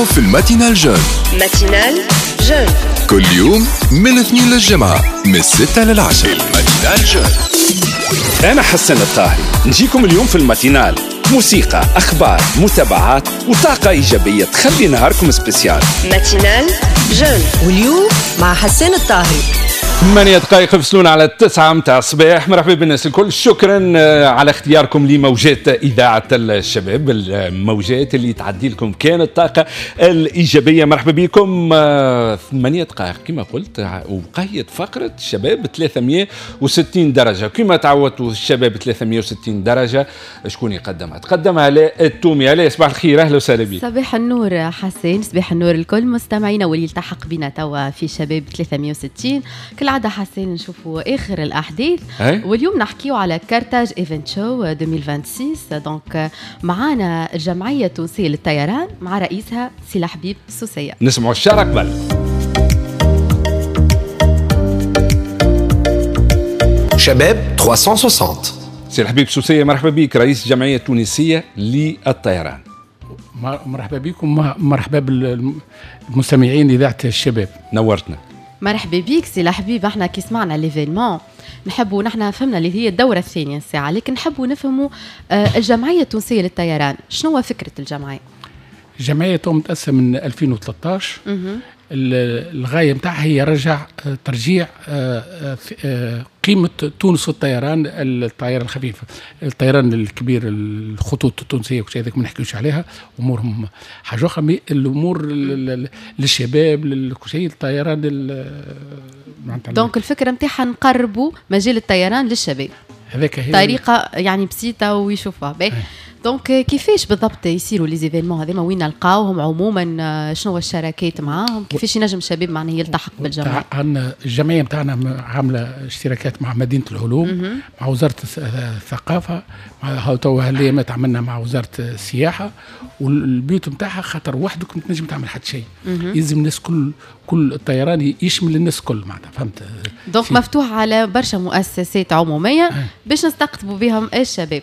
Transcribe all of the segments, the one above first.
تسمعوا في ال matinale jeune. matinale jeune كل يوم من الاثنين للجمعة من 6 لل10. ال matinale jeune. أنا حسن الطاهري، نجيكم اليوم في ال matinale، موسيقى، أخبار، متابعات وطاقة إيجابية تخلي نهاركم spécial. matinale jeune. واليوم مع حسان الطاهري. 8 دقائق يفصلون على 9 متاع الصباح. مرحبا بالناس الكل، شكرا على اختياركم لموجات إذاعة الشباب، الموجات اللي تعدي لكم كان الطاقة الإيجابية. مرحبا بكم. 8 دقائق كما قلت وقيت فقرة شباب 360 درجة. كما تعودتوا، الشباب 360 درجة شكون يقدمها؟ تقدمها آلاء التومي. آلاء، صباح الخير، أهلا وسهلا بك. صباح النور حسين، صباح النور الكل مستمعينا واللي التحق بنا توا في شباب 360. كالعادة حسين نشوفوا آخر الأحداث. واليوم نحكيو على Carthage Event Show 2026. donc معانا الجمعية التونسية للطيران مع رئيسها سي الحبيب سوسية. نسمعوا الشارة قبل. شباب 360. سي الحبيب سوسية، مرحبا بك، رئيس الجمعية التونسية للطيران. مرحبا بكم، مرحبا بالمستمعين اذاعة الشباب. نورتنا. مرحبا بيك سي الحبيب. احنا كي سمعنا l'événement نحبوا، نحن فهمنا اللي هي الدورة الثانية الساعة، لكن نحبوا نفهموا الجمعية التونسية للطيران، شنو هو فكرة الجمعية؟ الجمعية تو متاسسه من 2013. الغاية نتاعها هي رجع ترجيع قيمة تونس في الطيران، الطيران الخفيف، الطيران الكبير، الخطوط التونسية وكل شيء هذاك ما نحكيوش عليها، امورهم حاجة اخرى، mais الامور للشباب، لكل شيء، الطيران معناتها. donc الفكرة نتاعها نقربوا مجال الطيران للشباب. هذاك هي. طريقة يعني بسيطة ويشوفها. باهي، donc كيفاش بالضبط يصيروا les événements هذوما؟ وين نلقاوهم عموما؟ شنو هو الشراكات معاهم؟ كيفاش ينجم الشباب معناها يلتحق بالجمعيه؟ عندنا الجمعية نتاعنا عامله اشتراكات مع مدينة العلوم، مع وزارة الثقافه، مع تو هالايامات عملنا مع وزارة السياحه. وال but نتاعها خاطر وحدك ما تنجم تعمل حتى شيء، يلزم الناس كل الطيران يشمل الناس كل معناتها، فهمت؟ donc مفتوح على برشا مؤسسات عموميه باش نستقطبوا بهم الشباب.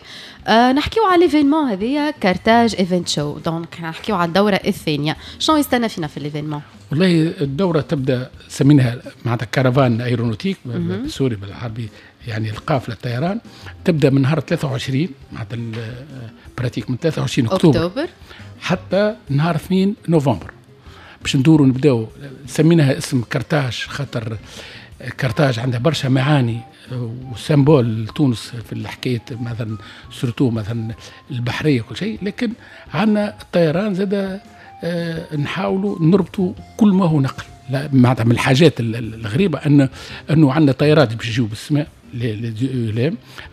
نحكيو على l'événement هذيا Carthage Event Show، donc نحكيو على الدورة الثانيه، شنو يستنى فينا في l'événement؟ والله الدورة تبدا، سميناها معناتها caravane aéronautique بال sorry بالعربي، يعني القافلة الطيران، تبدا من نهار 23، معناتها pratique من 23 اكتوبر، أكتوبر حتى نهار 2 نوفمبر باش ندوروا. نبداو، سميناها اسم كرتاج خاطر كرتاج عندها برشا معاني و symbole تونس في الحكاية مثلا، surtout مثلا البحرية كل شيء، لكن عندنا الطيران زاد، نحاولوا نربطوا كل ما هو نقل. لا معناتها من الحاجات الغريبة انه عندنا طيارات باش يجيو بالسماء،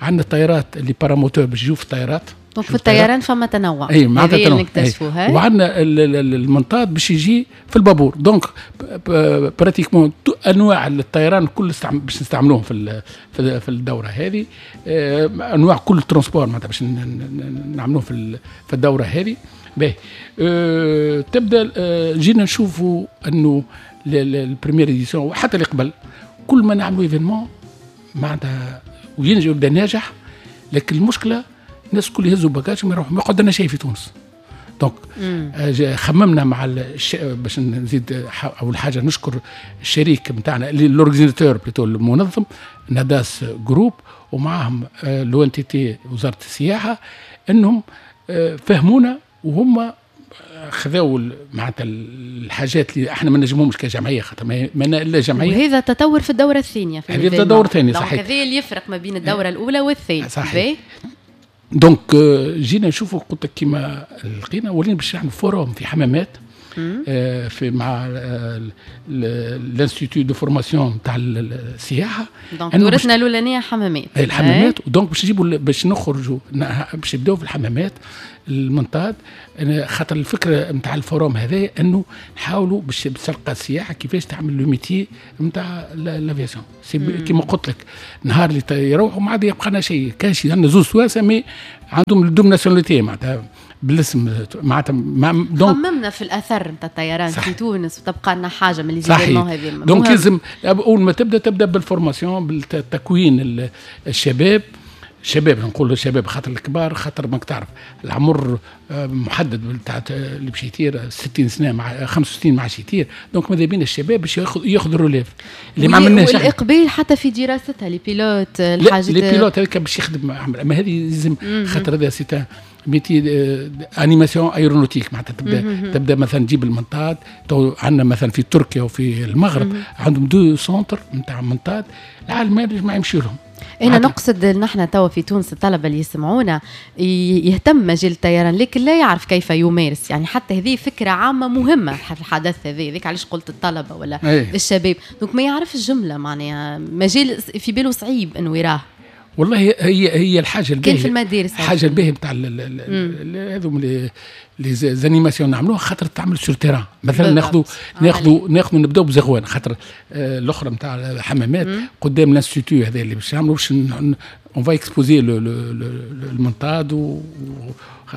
عندنا طيارات les paramoteurs باش يجيو في الطيارات. donc في الطيران فما تنوع. اي معناتها تنوع نكتشفوها. وعندنا المنطاد باش يجي في البابور، donc pratiquement انواع الطيران كل باش نستعملوهم في الدورة هذه، انواع كل transport معناتها باش نعملوه في الدورة هذه. باهي، تبدا جينا نشوفوا انه ال première édition وحتى اللي قبل، كل ما نعملوا événement معناتها وينجح، يبدا ناجح، لكن المشكلة الناس الكل يهزوا bagage وما يروحوا، ما يقعد لنا شيء في تونس. donc خممنا مع باش نزيد اول حاجة نشكر الشريك نتاعنا، l'organisateur plutôt، المنظم ناداس groupe، ومعهم l'ONTT وزارة السياحه، انهم فهمونا وهم خذاو معناتها الحاجات اللي احنا ما نجموهمش كجمعيه، خاطر ما الا جمعيه. وهذا تطور في الدورة الثانية في هذا الدورة الثانيه، صحيح. هذا اللي يفرق ما بين الدورة الاولى والثانيه. صحيح. donc جينا نشوفوا، قلت لك كيما لقينا ولينا باش نعملوا forum في حمامات في مع l'institut de formation تاع السياحه. donc دورتنا الاولانية حمامات. الحمامات، donc باش نجيبوا، باش نخرجوا، باش نبداو في الحمامات المنطاد، خاطر الفكرة نتاع ال forum هذا انه نحاولوا باش تلقى السياحة كيفاش تعمل le métier نتاع l'aviation. كيما قلت لك، نهار اللي يروحوا ما عاد يبقى لنا شيء، كان شي عندنا زوز توانسة mais عندهم double nationalité معناتها بالاسم معناتها. donc خممنا في الاثر نتاع الطيران في تونس وتبقى لنا حاجة من les هذه. donc لازم اول ما تبدا، تبدا بال formation، بالتكوين الشباب. الشباب، نقول الشباب خاطر الكبار، خاطر ماك تعرف العمر محدد تاع اللي باش يطير 60 سنة مع 65 ما عادش يطير. donc ماذا بينا الشباب باش ياخذ ال relève اللي ما عملناش. والاقبال حتى في دراستها les pilotes. الحاجات les pilotes هذاك باش يخدم، اما هذه لازم خاطر هذا c'est métier animation aéronautique، معناتها تبدا مثلا تجيب المنطاد. تو عندنا مثلا في تركيا وفي المغرب عندهم deux centres نتاع منطاد، العالم ما يمشي لهم. انا نقصد نحن توا في تونس الطلبة اللي يسمعونا يهتم مجال الطيران لكن لا يعرف كيف يمارس، يعني حتى هذه فكرة عامة مهمة في الحدث هذا، ذيك علاش قلت الطلبة ولا أيه. الشباب، donc ما يعرف الجملة، معناها مجال في باله صعيب انه يراه. والله هي الحاجة الباهيه في المدارس، الحاجة الباهيه نتاع هذوم les animations نعملوها خاطر تعمل sur terrain. مثلا ناخذوا نبداو بزغوان، خاطر الاخرى نتاع الحمامات قدام l'institut هذا اللي باش نعملوا، باش on va exposer المنطاد،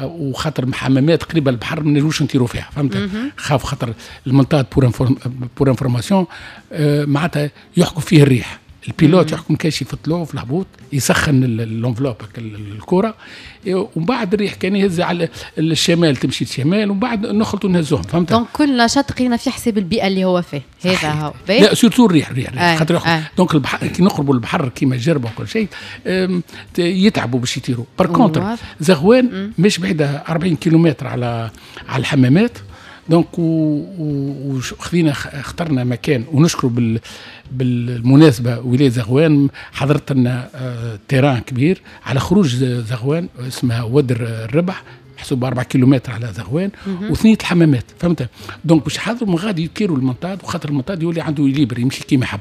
وخاطر حمامات قريبه البحر ما نجموش نطيروا فيها، فهمت؟ خاف خاطر المنطاد pour information معناتها يحكم فيه الريح، ال pilote يحكم كاش في الطلوع وفي الهبوط، يسخن l'enveloppe الكره، ومن بعد الريح كان يهز على الشمال تمشي الشمال، ومن بعد نخلطوا نهزوهم، فهمت؟ donc كل نشاط قرينا في حساب البيئة اللي هو فيه، هذا هو. لا surtout الريح خاطر donc البحر كي نقربوا البحر كيما جربه وكل شيء يتعبوا باش يطيروا. par contre زغوان مش بعيدة 40 كيلومتر على الحمامات، donc وخذينا اخترنا مكان، ونشكر بالمناسبة ولاية زغوان حضرت لنا terrain كبير على خروج زغوان اسمها ودر الربح، محسوب 4 كيلومتر على زغوان وثنية الحمامات، فهمت؟ donc باش يحضروا من غادي يطيروا المنطاد، وخاطر المنطاد يولي عنده libre يمشي كيما يحب،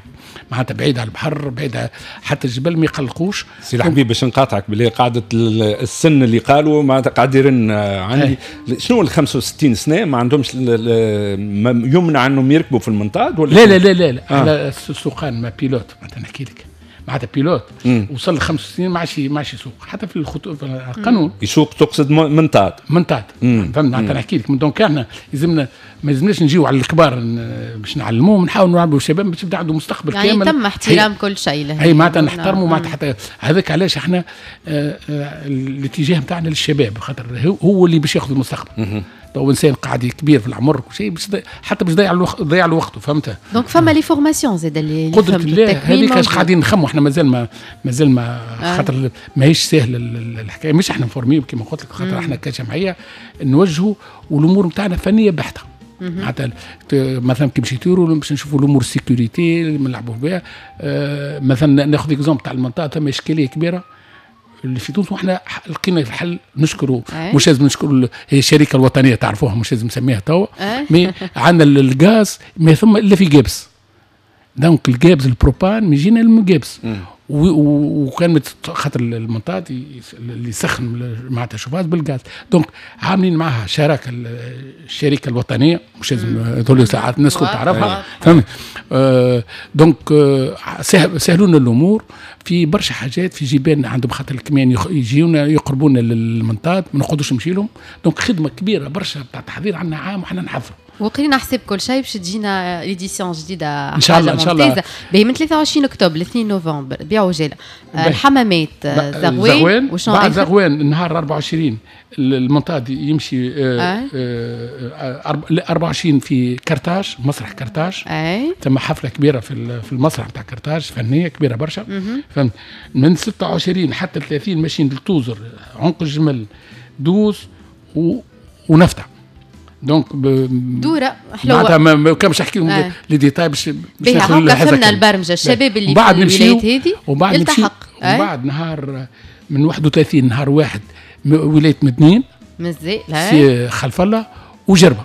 معناتها بعيد على البحر، بعيد حتى الجبل ما يقلقوش. سي الحبيب باش نقاطعك باللي قاعدة السن اللي قالوا معناتها قاعد يرن عندي شنو ال 65 سنة ما عندهمش يمنع انهم يركبوا في المنطاد ولا؟ لا لا لا لا, لا. على السوقان ما pilote معناتها نحكي لك، معناتها pilote وصل ل 65 ما عادش يسوق حتى في القانون. يسوق تقصد منطاد؟ منطاد، فهمت؟ معناتها نحكي لك. donc احنا لازمنا ما لازمناش نجيو على الكبار باش نعلموهم، نحاولوا نعلموا الشباب باش يبدا عنده مستقبل يعني كامل، يعني تم احترام كل شيء. اي معناتها نحترموا معناتها حتى هذاك علاش احنا الاتجاه نتاعنا للشباب، خاطر هو اللي باش ياخذ المستقبل. تو انسان قاعد كبير في العمر وكل شيء حتى باش ضيع له وقته، فهمت؟ donc فما les formations زاد اللي قدرة الله هذيك اش قاعدين نخموا احنا، مازال ما خاطر ماهيش سهلة الحكاية، مش احنا نفورميو كيما قلت لك، خاطر احنا كجمعية نوجهوا والامور نتاعنا فنية بحته. معناتها مثلا كي باش يطيروا باش نشوفوا الامور sécurité اللي نلعبوا بها. مثلا ناخذ exemple تاع المنطقة، ثم اشكالية كبيرة اللي في تونس وحنا لقينا الحل، نشكروا مش لازم نشكروا هي الشركة الوطنية تعرفوها مش لازم نسميها توا، mais عندنا الغاز ما ثم الا في قابس، donc القابس البروبان يجينا من قابس، وكان خاطر المنطاد اللي يسخن معناتها شوفاز بالغاز، donc عاملين معها شراكة الشركة الوطنية، مش لازم هذول ساعات الناس كل تعرفها، فهمت؟ donc سهلوا لنا الامور في برشا حاجات، في جبال عندهم خاطر الكمان يجيونا يقربونا للمنطاد ما نقعدوش نمشي لهم، donc خدمة كبيرة برشا تاع تحضير عندنا عام وحنا نحضروا وقرينا حساب كل شيء باش تجينا l'édition جديدة ان شاء الله. ان شاء الله باهي من 23 اكتوبر ل 2 نوفمبر بيعوا جاله الحمامات زغوان، بعد زغوان نهار 24 المنطاد يمشي 24 في كرتاج، مسرح كرتاج، ثم حفلة كبيرة في المسرح نتاع كرتاج فنية كبيرة برشا، فهمت؟ من 26 حتى 30 ماشيين لتوزر، عنق الجمل، دوز ونفتح. donc دوره حلوة معناتها ما كانش نحكي لهم les détails باش ناخذ فهمنا البرمجة. الشباب اللي في الولايات هذه يلتحق، وبعد نهار من 31 نهار واحد ولاية مدنين مزيان سي خلف الله وجربه،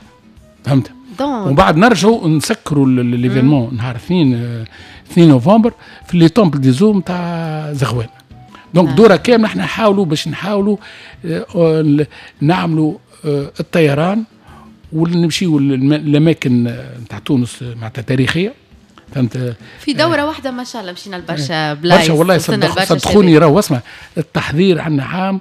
فهمت؟ ومن بعد نرجعوا نسكروا l'événement نهار 2 نوفمبر في les temples des eaux نتاع زغوان. donc دوره كاملة احنا نحاولوا باش نحاولوا نعملوا الطيران ونمشيو للاماكن نتاع تونس معناتها تاريخية، فهمت؟ في دوره واحدة ما شاء الله مشينا لبرشا بلايص برشا والله، صدقوني راهو اسمع التحضير عندنا عام.